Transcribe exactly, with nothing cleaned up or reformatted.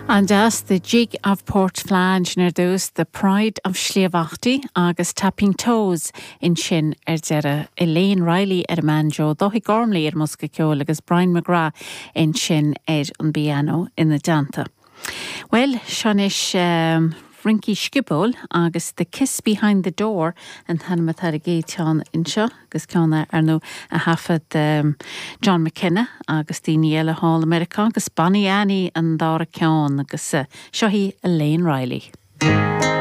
An-deas the Jig of Port Flange ar dtús the Pride of Sliabh Aughty agus Tapping Toes ansin ar deireadh Elaine Riley ar an mbanjo, Dáithí Gormley ar an mbosca ceoil agus Brian McGrath ansin ar an bpianó ina dteannta. Well seo anois um, rince sciobóil agus The Kiss Behind the Door an t-ainm atá ar an gcéad cheann anseo agus ceann ar ndóigh a thaifead um, John McKenna agus daoine eile thall i Meiriceá agus Bonnie Annie an dara ceann agus uh, seo í Elaine Riley.